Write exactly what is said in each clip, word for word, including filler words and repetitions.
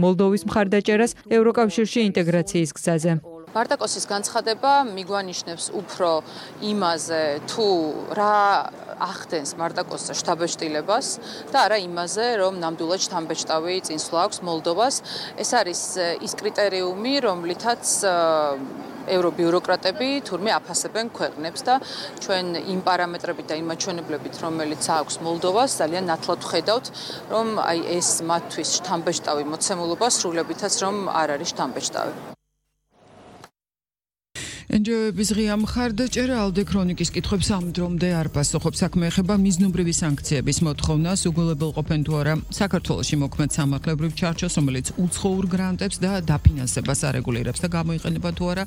მოლდოვის მხარდაჭერას ევროკავშირში ინტეგრაციის გზაზე. მარტაკოსის განცხადება მიგვანიშნებს უფრო იმაზე, თუ რა ახდენს მარტაკოსის შთაბეჭდილებას და არა იმაზე, რომ ნამდვილად შთამბეჭდავი წინსვლა აქვს მოლდოვას. ეს არის ის კრიტერიუმი, რომლითაც ევრობიუროკრატები თურმე აფასებენ ქვეყნებს და ჩვენ იმ პარამეტრებით და იმ მაჩვენებლებით, რომელიც აქვს მოლდოვას, ძალიან ნათლად ვხედავთ, რომ აი ეს მათთვის შთამბეჭდავი მოცემულობა სრულებითაც რომ არ არის შთამბეჭდავი. ენჯოების ღია მხარდაჭერა ალდე ქრონიკის კითხვებს ამ დრომდე არ პასუხობს. საქმე ეხება მიზნობრივი სანქციების მოთხოვნას, უგულებელყოფენ თუ არა საქართველოში მოქმედ სამართლებრივ ჩარჩოს, რომელიც უცხოურ გრანტებს და დაფინანსებას არეგულირებს და გამოიყენება თუ არა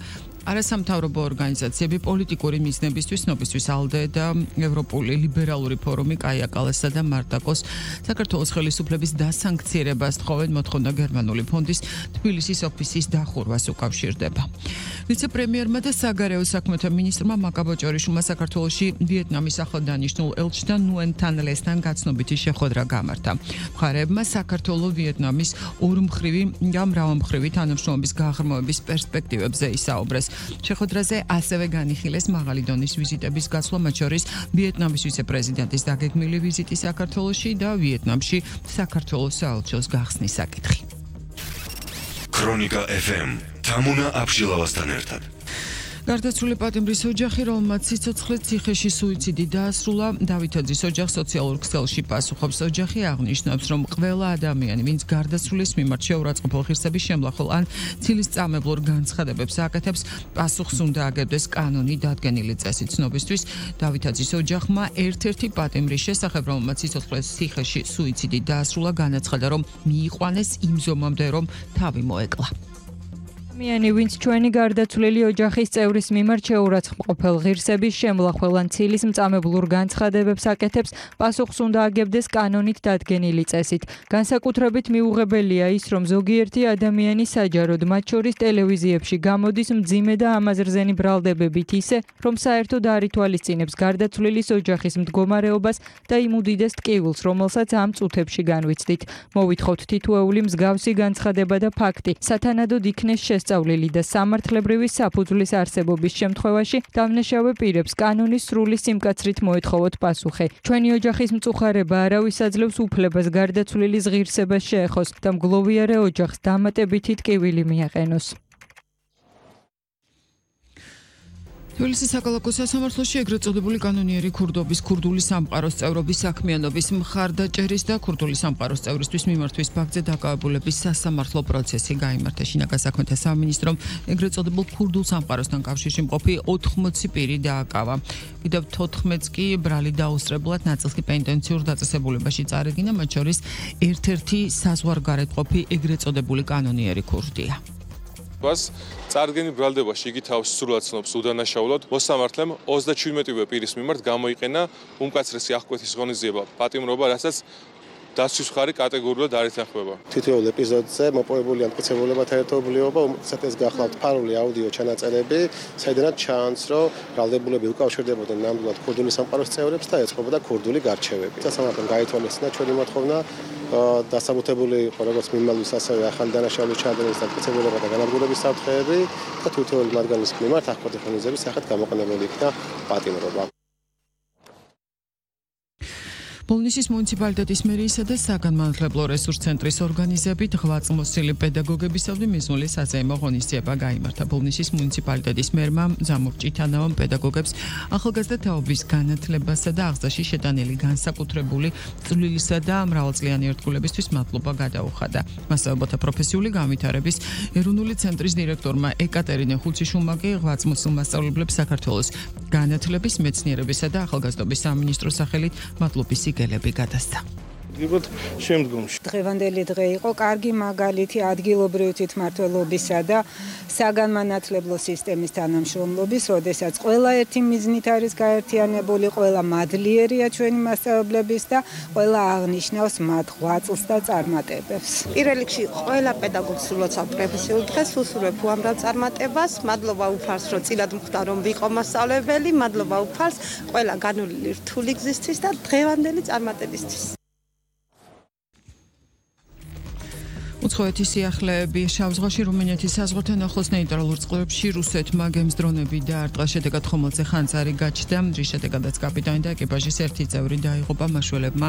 არასამთავრობო ორგანიზაციები პოლიტიკური მიზნებისთვის. ნობისთვის ალდე და ევროპული ლიბერალური ფორუმი კაია კალასა და მარტაკოს საქართველოს ხელისუფლების დასანქციერებას თხოვენ. მოთხოვნა გერმანული ფონდის თბილისის ოფისის დახურვას უკავშირდება. ვიცე-პრემიერმა და საგარეო საქმეთა მინისტრმა მაკაბოჭორიშვილმა საქართველოში ვიეტნამის ახლადანიშნულ ელჩთან ნუენ თანლესთან გაცნობითი შეხვედრა გამართა. მხარეებმა საქართველოს ვიეტნამის ორმხრივი და მრავალმხრივი თანამშრომლობის გაღრმავების პერსპექტივებზე ისაუბრეს. შეხვედრაზე ასევე განიხილეს მაღალი დონის ვიზიტების გასვლა, მათ შორის ვიეტნამის ვიცე-პრეზიდენტის დაგეგმილი ვიზიტი საქართველოში და ვიეტნამში საქართველოს საელჩოს გახსნის საკითხი. ქრონიკა ეფ ემ თამუნა აბშილავასთან ერთად. გარდაცვლილი პატიმრის ოჯახი, რომელმაც სიცოცხლე ციხეში სუიციდი დაასრულა, დავითაძის ოჯახს სოციალურ ქსელში პასუხობს. ოჯახი აღნიშნავს, რომ ყველა ადამიანი, ვინც გარდაცვლილის მიმართ შეურაცხმყოფ ღირსების შემლახელ ან ცილისწამებლურ განცხადებებს აკეთებს, პასუხს უნდა აგებდეს კანონი დადგენილი წესით. ცნობისთვის, დავითაძის ოჯახმა ერთ-ერთი პატიმრის შესახებ, რომელმაც სიცოცხლე ციხეში სუიციდი დაასრულა, განაცხადა, რომ მიიყვანეს იმ ზომამდე, რომ თავი მოეკლა. ადამიანი, ვინც ჩვენი გარდაცვლილი ოჯახის წევრის მიმართ შეურაცხმყოფელ ღირსების შემლახველან ან ცილისმწამებლურ განცხადებებს აკეთებს, პასუხს უნდა აგებდეს კანონით დადგენილი წესით. განსაკუთრებით მიუღებელია ის, რომ ზოგიერთი ადამიანი საჯაროდ, მათ შორის ტელევიზიებში გამოდის მძიმე და ამაზრზენი ბრალდებებით ისე, რომ საერთოდ არ ითვალისწინებს გარდაცვლილის ოჯახის მდგომარეობას და იმ უდიდეს ტკივილს, რომელსაც ამ წუთებში განვიცდით. მოვითხოვთ თითოეული მსგავსი განცხადება და ფაქტი სათანადოდ იქნეს შესწავლილი და სამართლებრივი საფუძვლის არსებობის შემთხვევაში დამნაშავე პირებს კანონის სრული სიმკაცრით მოეთხოვოთ პასუხი. ჩვენი ოჯახის მწუხარება არავის აძლევს უფლებას გარდაცვლილის ღირსებას შეეხოს და მგლოვიარე ოჯახს დამატებითი ტკივილი მიაყენოს. თბილისის საკალათო სასამართლოში ეგრეთ წოდებული კანონიერი ქურდობის ქურდული სამყაროს წევრობის საქმიანობის მხარდაჭერის და ქურდული სამყაროს წევრისთვის მიმართვის ფაქტზე დაკავებულების სასამართლო პროცესი გაიმართა. შინაგან საქმეთა სამინისტრომ ეგრეთ წოდებულ ქურდულ სამყაროსთან კავშირში მყოფი ოთხმოცი პირი დააკავა. კიდევ თოთხმეტს კი ბრალი დაუსწრებლად, ნაწილს კი პენტენციურ დაწესებულებაში წარადგინა, მათ შორის ერთ-ერთი საზღვარგარეთ ყოფი ეგრეთ წოდებული კანონიერი ქურდია. მას წარდგენილ ბრალდებაში იგი თავს სრულად ცნობს უდანაშაულოდ. მოსამართლემ ოცდაჩვიდმეტივე პირის მიმართ გამოიყენა უმკაცრესი აღკვეთის ღონისძიება პატიმრობა, რასაც დასვლის მხარი კატეგორიულად არ ეთანხმება. თითოეულ ეპიზოდზე მოპოვებული ამტკიცებულებათა ერთობლიობა, უმეტესად ეს გახლავთ ფარული აუდიო ჩანაწერები, საიდანაც ჩანს, რომ ბრალდებულები უკავშირდებოდნენ ნამდვილად ქურდული სამყაროს წევრებს და ეწყობოდა ქურდული გარჩევები. სასამართლომ გაითვალისწინა ჩვენი მოთხოვნა, დასაბუთებული იყო როგორც მიმალვის, ასევე ახალი დანაშაულის ჩადენის დამტკიცებულება და განადგურების საფრთხეები და თითოეული მათგანის მიმართ აღკვეთის ღონისძიების სახით გამოყენებული იქნა პატიმრობა. ბოლნისის მუნიციპალიტეტის მერიისა და საგანმანათლებლო რესურს ცენტრის ორგანიზებით ღვაწლმოსილი პედაგოგებისადმი მიზნული საზეიმო ღონისძიება გაიმართა. ბოლნისის მუნიციპალიტეტის მერმა ზამურ ჭითანავამ პედაგოგებს ახალგაზრდა თაობის განათლებასა და აღზრდაში შეტანილი განსაკუთრებული წვლილისა და მრავალწლიანი ერთგულებისთვის მადლობა გადაუხადა. მასწავლებელთა პროფესიული განვითარების ეროვნული ცენტრის დირექტორმა ეკატერინე ხუციშვილმა კი ღვაწლმოსილ მასწავლებლებს საქართველოს განათლების, მეცნიერებისა და ახალგაზრდობის სამინისტროს სახელით მადლობის გელები გადასცა. შემდგომში დღევანდელი დღე იყო კარგი მაგალითი ადგილობრივი თვითმმართველობისა და საგანმანათლებლო სისტემის თანამშრომლობის, როდესაც ყველა ერთი მიზნით არის გაერთიანებული, ყველა მადლიერია ჩვენი მასწავლებლების და ყველა აღნიშნავს მათ ღვაწლს და წარმატებებს. პირველ რიგში ყველა პედაგოგს სულოცავ პროფესიულ დღეს, უსურვებ უამრავ წარმატებას. მადლობა უფალს, რომ წილად მხვდა რომ ვიყო მასწავლებელი, მადლობა უფალს ყველა განვლილი რთული გზისთვის და დღევანდელი წარმატებისთვის. უცხოეთის სიახლეები შავ ზღვაში რუმინეთის საზღვართან ახლოს ნეიტრალურ წყლებში რუსეთმა გემს დრონები დაარტყა, შედეგად ხომალდზე ხანძარი გაჩნდა, რის შედეგადაც კაპიტანი და ეკიპაჟის ერთი წევრი დაიღუპა, მაშველებმა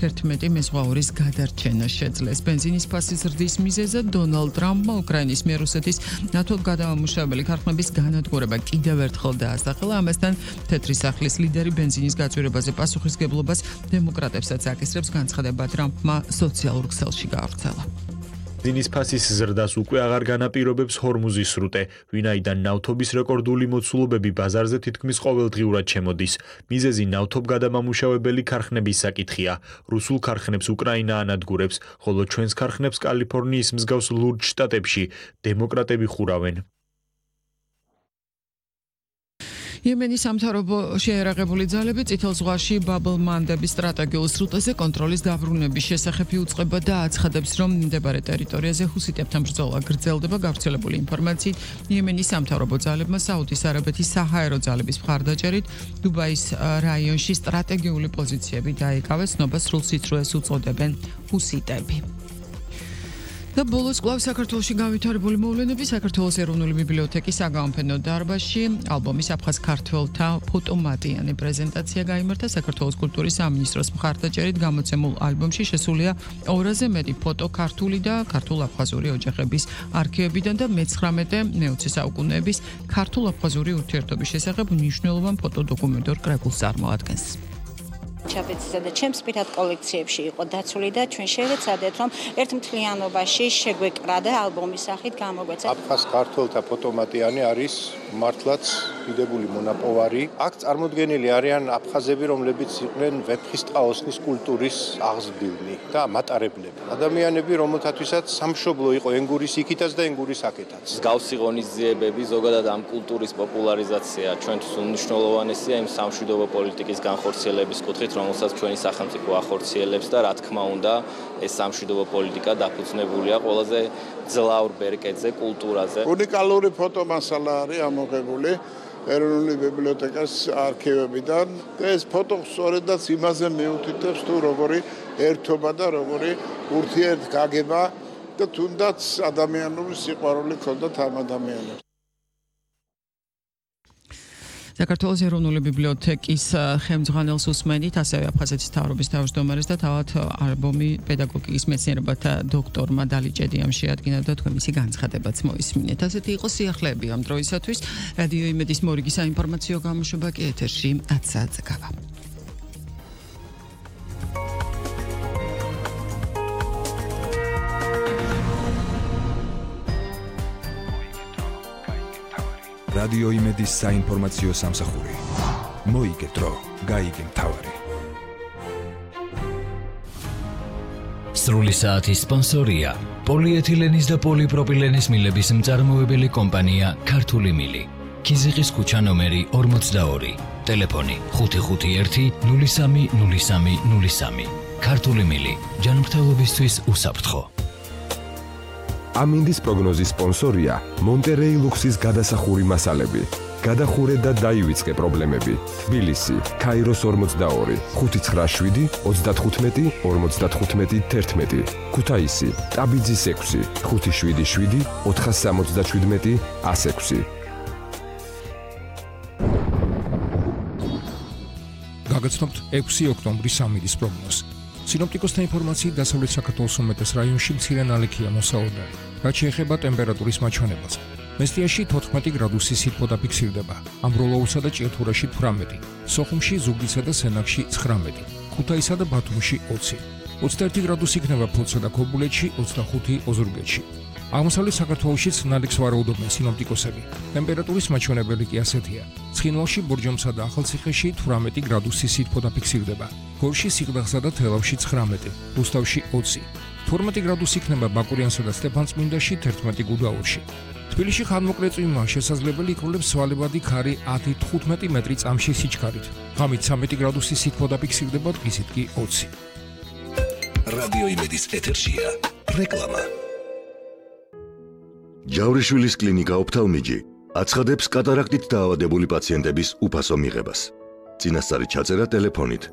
თერთმეტი მეზღვაურის გადარჩენა შეძლეს. ბენზინის ფასის ზრდის მიზეზად დონალდ ტრამპმა უკრაინის მიერ რუსეთის ნატო გადამამუშავებელი ქარხნების განადგურება კიდევ ერთხელ დაასახელა. ამასთან თეთრი სახლის ლიდერი ბენზინის გაწვირებაზე პასუხისგებლობას დემოკრატებსაც აკისრებს, განცხადება ტრამპმა სოციალურ ქსელში გაავრცელა. ბენზინის ფასის ზრდას უკვე აღარ განაპირობებს ჰორმუზის სრუტე, ვინაიდან ნავთობის რეკორდული მოცულობები ბაზარზე თითქმის ყოველდღიურად შემოდის. მიზეზი ნავთობ გადამამუშავებელი ქარხნების საკითხია. რუსულ ქარხნებს უკრაინა ანადგურებს, ხოლო ჩვენს ქარხნებს კალიფორნიის მსგავს ლურჯ შტატებში დემოკრატები ხურავენ. იემენის სამთავრობო შეერაღებული ძალები წითელ ზღვაში ბაბ-ელ-მანდების სტრატეგიულ სრუტეზე კონტროლის დაბრუნების შესახებ იუწყება და აცხადებს, რომ მდებარე ტერიტორიაზე ჰუსიტებთან ბრძოლა გრძელდება. გავრცელებული ინფორმაციით, იემენის სამთავრობო ძალებმა საუდის არაბეთის საჰაერო ძალების მხარდაჭერით დუბაის რაიონში სტრატეგიული პოზიციები დაიკავეს, ნობა სრულ სიცრუეს უწოდებენ ჰუსიტები. და ბოლოს კვლავ საქართველოში გავითარებული მოვლენები საქართველოს ეროვნული ბიბლიოთეკის საგამოფენო დარბაზში ალბომის აფხაზ ქართველთა ფოტომატიანი პრეზენტაცია გაიმართა. საქართველოს კულტურის სამინისტროს მხარდაჭერით გამოცემულ ალბომში შესულია ორაზე მეტი ფოტო ქართული და ქართულ-აფხაზური ოჯახების არქივებიდან და მეცხრამეტე მეოცე საუკუნეების ქართულ-აფხაზური ურთიერთობის შესახებ მნიშვნელოვან ფოტოდოკუმენტურ კრებულს წარმოადგენს. ჩაბეცისა და ჩემს პირად კოლექციებში იყო დაცული და ჩვენ შევეცადეთ, რომ ერთ მთლიანობაში შეგვეკრა და ალბომის სახით გამოგვეცა. აფხაზ ქართველთა ფოტომატიანი არის მართლაც დიდებული მონაპოვარი. აქ წარმოდგენილი არიან აფხაზები, რომლებიც იყვნენ ვეფხისტყაოსნის კულტურის აღზრდილნი და მატარებლები. ადამიანები, რომელთათვისაც სამშობლო იყო ენგურის იქითაც და ენგურის აქეთაც. მსგავსი ღონისძიებები, ზოგადად ამ კულტურის პოპულარიზაცია ჩვენთვის უმნიშვნელოვანესია იმ სამშვიდობო პოლიტიკის განხორციელების კუთხით, რომელსაც ჩვენი სახელმწიფო ახორციელებს და რა თქმა უნდა ეს სამშვიდობო პოლიტიკა დაფუძნებულია ყველაზე ძლავრ ბერკეტზე, კულტურაზე. უნიკალური ფოტომასალა არის ამოღებული ეროვნული ბიბლიოთეკას არქივებიდან და ეს ფოტო სწორედაც იმაზე მიუთითებს თუ როგორი ერთობა და როგორი ურთიერთგაგება და თუნდაც ადამიანური სიყვარული ჰქონდათ ამ ადამიანებს. საქართველოს ეროვნული ბიბლიოთეკის ხელმძღვანელს უსმენით, ასევე აფხაზეთის მთავრობის თავმჯდომარეს და თავად ალბომი პედაგოგიკის მეცნიერებათა დოქტორმა დალიჭედიამ შეადგინა და თქვენ მისი განცხადებაც მოისმინეთ. ასეთი იყო სიახლეები ამ დროისათვის. რადიო იმედის მორიგი საინფორმაციო გამოშვება კი ეთერში ათი საათზე გავა. რადიო იმედის საინფორმაციო სამსახური. მოიგეთ დრო, გაიგე მთავარი. სრული საათის სპონსორია პოლიეთილენის და პოლიპროპილენის მილების მწარმოებელი კომპანია ქართული მილი. ქიზიყის ქუჩა ნომერი ორმოცდაორი. ტელეფონი ხუთი ხუთი ერთი ნული სამი ნული სამი ნული სამი. ქართული მილი. ჯანმრთელობისთვის უსაფრთხო. ამინდის პროგნოზის სპონსორია მონტერეი ლუქსის გადასახური მასალები. გადახურე და დაივიწყე პრობლემები. თბილისი, ქაიროს ორმოცდაორი, ხუთი ცხრა შვიდი ოცდათხუთმეტი ორმოცდათხუთმეტი თერთმეტი. ქუთაისი, ტაბიძის ექვსი, ხუთი შვიდი შვიდი ოთხას სამოცდაშვიდმეტი ას ექვსი. გაგაცნობთ ექვსი ოქტომბრის ამინდის პროგნოზი. სინოპტიკოსთა ინფორმაციით დასავლეთ საქართველოს უმეტეს რაიონში მცირე ნალექია მოსაოდარი. რაც შეეხება ტემპერატურის მაჩვენებელს. მესტიაში თოთხმეტი გრადუსი სითბო დაფიქსირდება. ამბროლოუსა და ჭიათურაში თვრამეტი, სოხუმში, ზუგდიდსა და სენაკში ცხრამეტი, ქუთაისსა და ბათუმში ოცი. ოცდაერთი გრადუსი იქნება ფოთსა და ქობულეთში, ოცდახუთი ოზურგეთში. აღმოსავლეთ საქართველოშიც ნალექს ვარაუდობენ სინოპტიკოსები. ტემპერატურის მაჩვენებელი კი ასეთია. ცხინვალში, ბორჯომსა და ახალციხეში თვრამეტი გრადუსი სითბო დაფიქსირდება. გორში, სიღნაღსა და თელავში ცხრამეტი, რუსთავში ოცი. თორმეტი გრადუსი იქნება ბაკურიანსა და სტეფანწმინდაში, თერთმეტი გუდაურში. თბილისში ხანმოკლე წვიმა შესაძლებელი იქნებს სვალებადი ქარი ათი თხუთმეტი მეტრი წამში სიჩქარით. ღამით ცამეტი გრადუსი სითბო დაფიქსირდება, დღისით კი ოცი. რადიო იმედის ეთერშია რეკლამა. ჯავრიშვილის კლინიკა ოფთალმიჯი აცხადებს კატარაქტით დაავადებული პაციენტების უფასო მიღებას. წინასწარი ჩაწერა ტელეფონით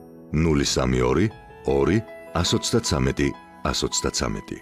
ნული სამი ორი ორი ას ოცდათვრამეტი ას ოცდათვრამეტი.